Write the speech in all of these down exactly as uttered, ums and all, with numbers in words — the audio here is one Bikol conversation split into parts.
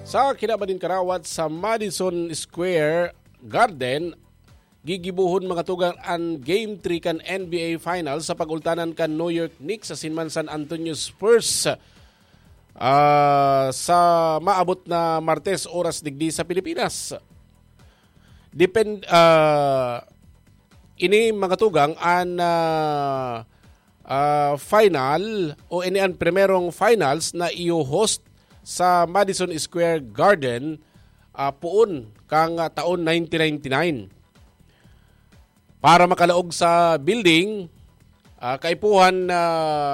Sa kinaban nin karawat sa Madison Square Garden, gigibohon, mga tugang, an Game three kan N B A Finals sa pag-ultanan kan New York Knicks asin man San Antonio Spurs, ah, sa maabot na Martes, oras digdi sa Pilipinas. Depend-, ah, ini, mga tugang, an, ah, ah, final o ini an primerong finals na iyo-host sa Madison Square Garden, ah, poon kan, ah, taon nineteen ninety-nine. Para makalaog sa building, ah, kaipuhan na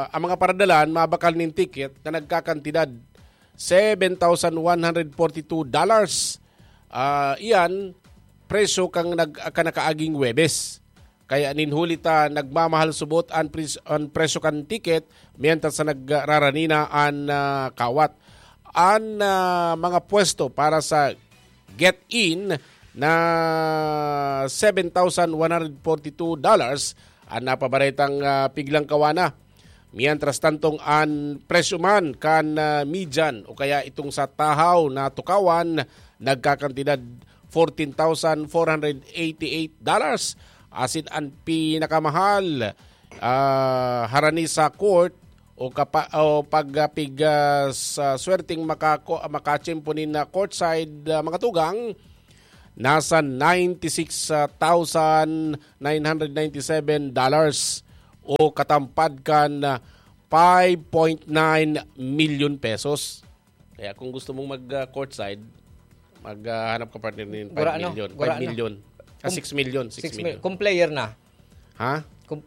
ang mga paradalan mabakal nin ticket na nagkakantidad seven thousand one hundred forty-two dollars. Ah, iyan, presyo kan nag-, kan nakaaging Huwebes. Kaya nin huli ta nagmamahal subot an pres-, an presyo kan ticket, mientras sa nagraranina an, ah, kawat. An, ah, mga pwesto para sa get-in na seven thousand one hundred forty-two dollars an napabaretang, ah, piglang kawana. Mientras tantong an presyo man kan, ah, median o kaya itong sa tahaw na tukawan nagkakantidad fourteen thousand four hundred eighty-eight dollars. Asin an pinakamahal, ah, harani sa court o kapa-, o pag, ah, pig, ah, sa swerteng makako-, makachimpo nin, ah, courtside, ah, mga tugang, nasa ninety-six thousand nine hundred ninety-seven dollars o katampad kan, ah, five point nine million pesos. Kaya kung gusto mong mag, ah, courtside, mag, ah, hanap ka, partner, nin Gura five ano? million. Gura five ano? million. Ah, Kung six million, six six million. mil-, kung player na. Ha? Kung,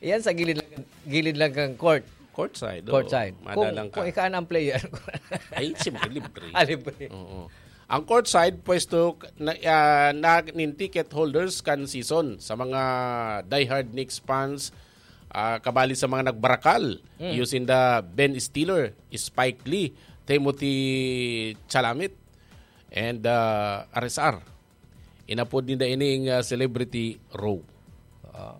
yan sa gilid lang, gilid lang kang court. Courtside, oo. Courtside. Kung, Madalang ka. kung ika na ang player. Ay, siyempre, libre. Ah, libre. Oo. Ang courtside, pwesto na, ah, na nin ticket holders kan season. Sa mga diehard Knicks fans, ah, kabali sa mga nagbarakal, Mm. using the Ben Stiller, Spike Lee, Timothée Chalamet, and, ah, R S R. Inapod ninda ining, ah, Celebrity Row. Ah.